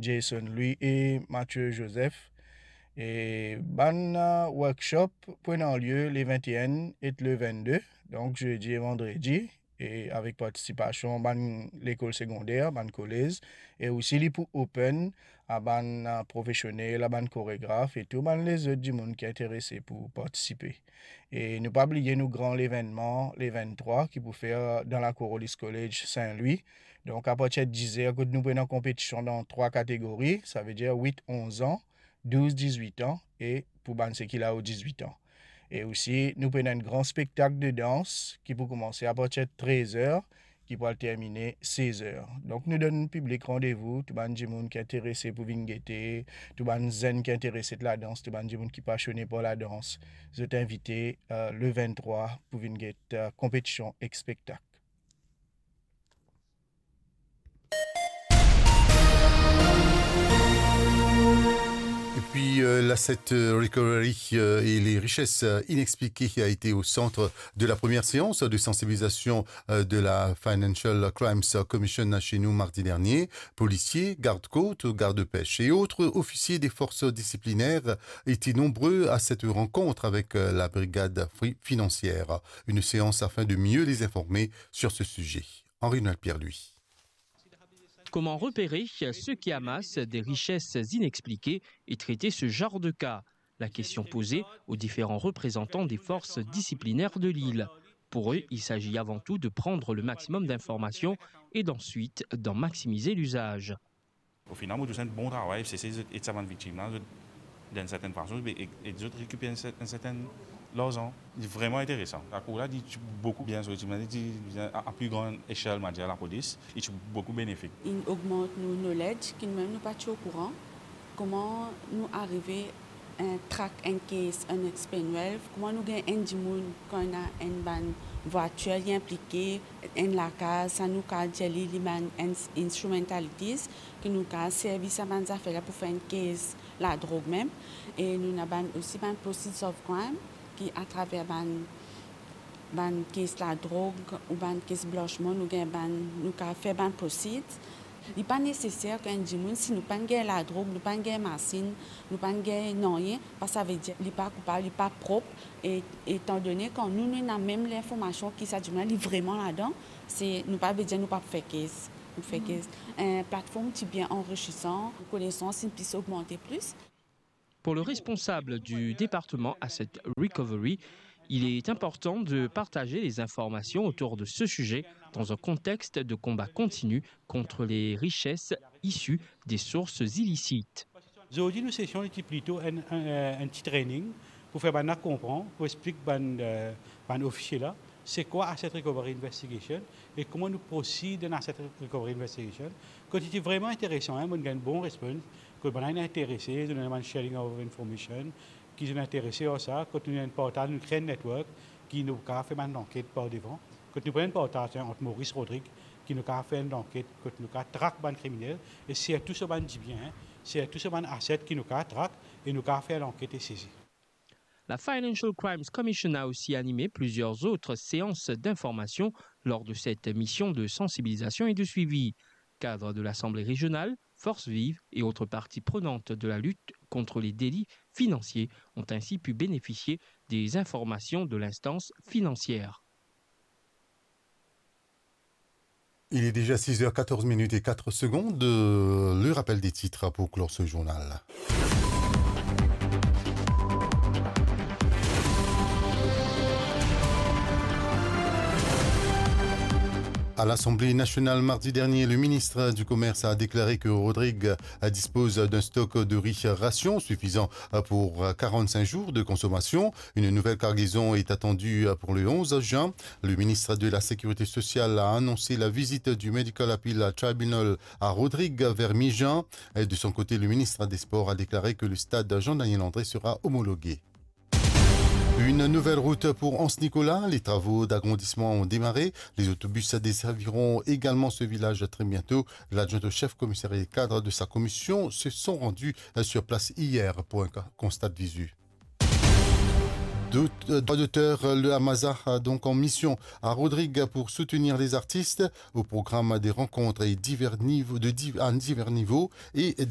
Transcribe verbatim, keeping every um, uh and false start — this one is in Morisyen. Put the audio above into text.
Jason Louis e Mathieu Joseph. E bann, euh, workshop pou ena lie le vennteinn ek le vennde, donk zedi e vandredi, e avek partisipasion bann lekol segonder, bann kolez, e osi li pou open a bann, euh, profesionel, a bann koregraf e tou bann lezot dimoun ki interese pou partisipe. E nou pa bliye nou gran levennman le venntrwa ki pou fer dan lakour Hollis College Saint Louis. Donk, apartir dizer, kot nou pou ena konpetision dan trwa kategori, savedir wit onz an, douz dizwit an, e pou bann seki lao dizwit an. E osi, nou pou ena enn gran spektak de dans ki pou koumanse apartir trez er, ki pou al termine sez er. Donk, nou donn piblik randevou, tou bann dimoun ki interese pou vinn gete, tou bann zenn ki interese dan ladans, tou bann dimoun ki pasione par ladans, zot invite, euh, le venntrwa pou vinn get, euh, konpetision ek spektak. Et puis, euh, l'asset, euh, recovery, euh, et les richesses, euh, inexpliquées a été au centre de la première séance de sensibilisation, euh, de la Financial Crimes Commission chez nous mardi dernier. Policiers, gardes-côtes, gardes-pêche et autres officiers des forces disciplinaires étaient nombreux à cette rencontre avec, euh, la brigade fri-, financière. Une séance afin de mieux les informer sur ce sujet. Henri-Noël Pierre-Louis. Comment repérer ceux qui amassent des richesses inexpliquées et traiter ce genre de cas ? La question posée aux différents représentants des forces disciplinaires de l'île. Pour eux, il s'agit avant tout de prendre le maximum d'informations et d'ensuite d'en maximiser l'usage. Au final, mo trouv se enn bon travay, se, se, se, ed sa bann viktim la, zot, dan enn sertenn fason, e, e, e zot rekiper enn ser-, enn sertenn larzan. Li vreman interesan. Lakour la, li ti boukou bien sorti, me li ti, li a, a pli gran echel, mo dir, lapolis, li ti boukou benefik. Inn ogmant nou knowledge ki nou mem nou pa ti okouran. Kouma nou arive, eh, track enn case, enn Explain Wealth, kouma nou gagn enn dimoun, kan ena enn bann vwatir, li inplike, enn lakaz, sa nou kapav dir li, li bann ins-, instrumentalities, ki nou kapav servi sa bann zafer la pou fer enn case ladrog mem. E nou ena bann, osi bann proceeds of crime, ki atraver bann, bann case ladrog ou bann case blanchman, nou gagn bann, nou kapav fer bann proceeds. Li pa neseser ki enn dimoun, si nou pa'nn gagn ladrog, nou pa'nn gagn masinn, nou pa'nn gagn nanye, pa savedir li pa koupab, li pa prop. E, etandone kan nou, nou ena mem linformasion ki sa dimoun la, li vreman ladan, se, nou pa vedir nou pa pou fer case. Nou fer case. Eh, platform ti bien anrisiran, konesans inn plis ogmante plis. Pour le responsable du département Asset Recovery, il est important de partager les informations autour de ce sujet dans un contexte de combat continu contre les richesses issues des sources illicites. Zordi nou sesion li ti plito enn, enn, enn ti training pou fer bann la konpran, pou explik bann, eh, bann ofisie la, se kwa asset recovery investigation e kouma nou proceed dan asset recovery investigation. Kot li ti vreman interesan, hein, mo gagn bon response, kot bann la inn interese, zot ena bann sharing of information, ki zot inn interese ar sa, kot nou ena partaz, nou kre enn network, ki nou kapav fer bann lanket par devan, kot nou pran enn partaz, hein, ant Maurice, Rodrigue, ki nou kapav fer enn lanket, kot nou kapav track bann kriminel, e sirtou so bann dibien, hein, sirtou so bann asset ki nou kapav track, e nou kapav fer lanket e sezi. La Financial Crimes Commission a aussi animé plusieurs autres séances d'information lors de cette mission de sensibilisation et de suivi. Cadres de l'Assemblée régionale, forces vives et autres parties prenantes de la lutte contre les délits financiers ont ainsi pu bénéficier des informations de l'instance financière. Il est déjà six heures quatorze minutes et quatre secondes. Euh, le rappel des titres pour clore ce journal. À l'Assemblée nationale mardi dernier, le ministre du Commerce a déclaré que Rodrigue dispose d'un stock de riz ration suffisant pour quarante-cinq jours de consommation. Une nouvelle cargaison est attendue pour le onze juin. Le ministre de la Sécurité sociale a annoncé la visite du Medical Appeal Tribunal à Rodrigue vers mi-juin. Et de son côté, le ministre des Sports a déclaré que le stade Jean-Daniel André sera homologué. Une nouvelle route pour Anse Nicolas. Les travaux d'agrandissement ont démarré. Les autobus desserviront également ce village très bientôt. L'adjoint au chef commissariat et cadre de sa commission se sont rendus sur place hier pour un constat de visu. D'aut-, euh, droit d'auteur, le Amaza a donc en mission à Rodrigue pour soutenir les artistes au programme des rencontres et divers niveaux, de div-, à divers niveaux et